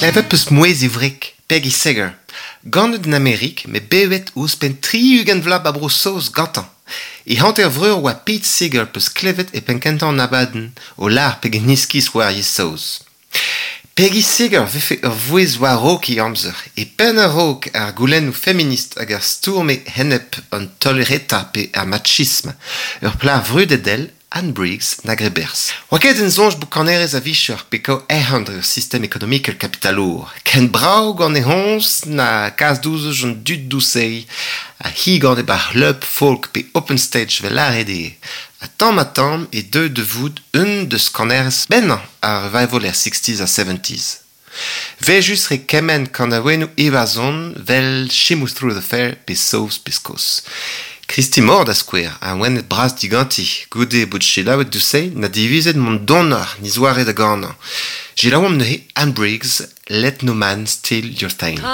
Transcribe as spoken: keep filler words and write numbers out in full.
Klevet 'peus mouezh e wreg, Peggy Seeger. Ganet en Amerik, met bevet ouzhpenn tri-ugent vloaz 'ba Bro-Saoz gantañ. E hanter-vreur 'oa Pete Seeger 'peus klevet e penn-kentañ an abadenn, o lâr pegen iskis 'oa ar yezh saoz. Peggy Seeger 'vefe ur vouezh war-raok he amzer, e penn a-raok ar goulennoù feminist hag ar stourm enep an taol-reta pe ar machism. Ur plac'h vrudet èl Anne Briggs na graet berzh. Oa ket en soñj bout kanerez a-vicher pe kaout arc'hant dre ur sistem ekonomikel kapitalour. Ken brav gant he c'homz na kas douzh an dud douzh-se. Ha hi gant e bar c'hleub folk pe open stage 'vel lâret eo. Ha tamm-ha-tamm e deu da vout un deus kanerez bennañ ar revival er sixties ha seventies. Vejus re kement kanaouennoù Iwerzhon 'vel She Moves Through the Fair pe Saoz pe Skos. Christy Moore da skouer, awenet bras diganti, goude bout selaouet douzh-se na divizet mont donoc'h 'n e zoare da ganañ. Selaouomp neuze Anne Briggs, Let No Man Steal Your Thing.